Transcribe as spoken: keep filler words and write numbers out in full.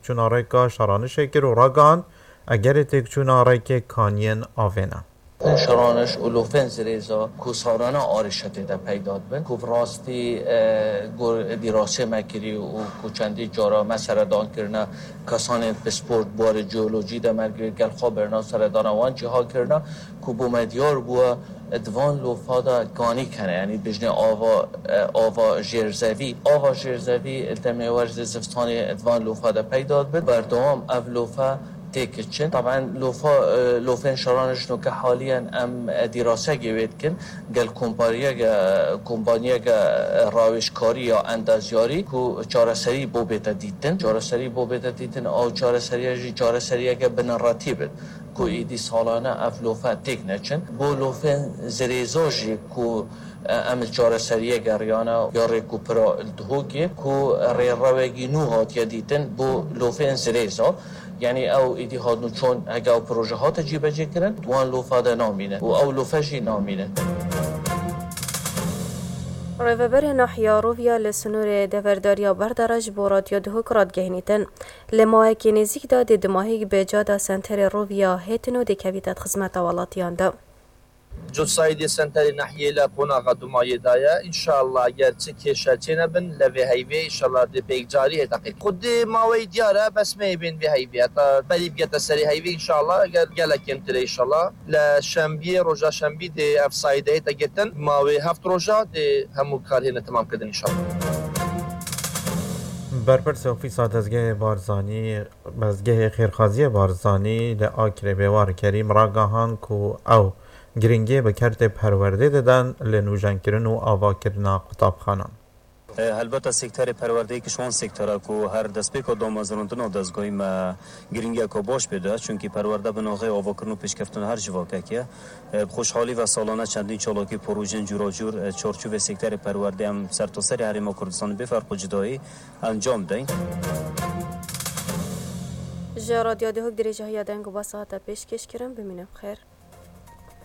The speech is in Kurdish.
Çûna rêka şaranişê kir û ragihand, egerê têkçûna rêkê kaniyên avê ne. Lofên şaraniş û lofên zirêza ku salane arêşe tê de peyda dibin, ku bi rastî, e, gor dîrasê me kirî û ku çendî cara me seredan kirine, kesanên pispor di warê jeolojî de me gel xwe birina seredana wan cîha kirine, ku bo me diyar bûye, di van lofa de ganîk hene, yanî bijnê ava, e, ava jêrzevî. Ava jêrzevî li demê wer zê zivistanê di van lofa de peyda dibin. Berdewam ev lofa têk çin. Taben lofa, e, lofên şaranişno ke haliyen em, e, dîrasekê wê dikin, gel kompaniyeke, kompaniyeke, e, rawêjkarî ya endazyarî ku çareserî bo bête dîtin. Çareserî bo bête dîtin, ew çareseriya jî çareseriyeke binretî bit. Ku êdî salane ev lofe têk neçin. Bo lofên zirêza jî ku, e, em li çareseriyê geriyane ya rêk û pira li Duhokê ku rêrewekî nû hatiye dîtin bo lofên zirêza. Yanî ew êdî hatnû çûn, heke ew proje hate cîbecê kirin, di wan lofa de namîne û ew lofe jî namîne. Rêveberê Nahiya Roviya li sînorê deverdariya Berdara ji bo Radyo Duhok radigihînîtin. Li mawekî nêzîk de dê dimahîk bi cada senterê Roviya hêtin û dê kevîte di xizmeta welatiyan de. Cotsaîdê senterê nahiyê li qonaxa dumayê de ye. Înşallah ger çi kêşe çênebin, li vê heyvê înşallah dê pêkcarî hête qît. Xwedê maweyî diyar e, bes me ê bên vê heyvê. Heta berî bigete serê heyvê înşallah, ger gelek kêmtir e înşallah. Li şembiyê, roja şembî dê ev saîde hête girtin. Mawê heft roja dê hemû kar hêne temamkirdin înşallah. Berpirsê Ofîsa Dezgehê Barzanî, Dezgehê Xêrxaziyê Barzanî li Akrê Bêwar Kerîm ragihand ku ew giringiyê bi kertê perwerdê didin li nûjenkirin û avakirina qutabxanan. E, helbeta sekterê perwerdeyê ki ji wan sektera ku her destpêka damezrandina dezgahî me giringiyeke baş pê de, çunkî perwerde bi naxê avakirin û pêşkeftina her civakekê ye. E, bi xweşhalî ve salane çendîn çalakî projeyên cûracûr, e, çarçovê sekterê perwerdê em sertaserê Herêma Kurdistanê bê ferq û cudayî encam deyn. Ji Radyo Duhok dirêjahiya deng û basa hate pêşkêşkirin. Bimînin bi xêr.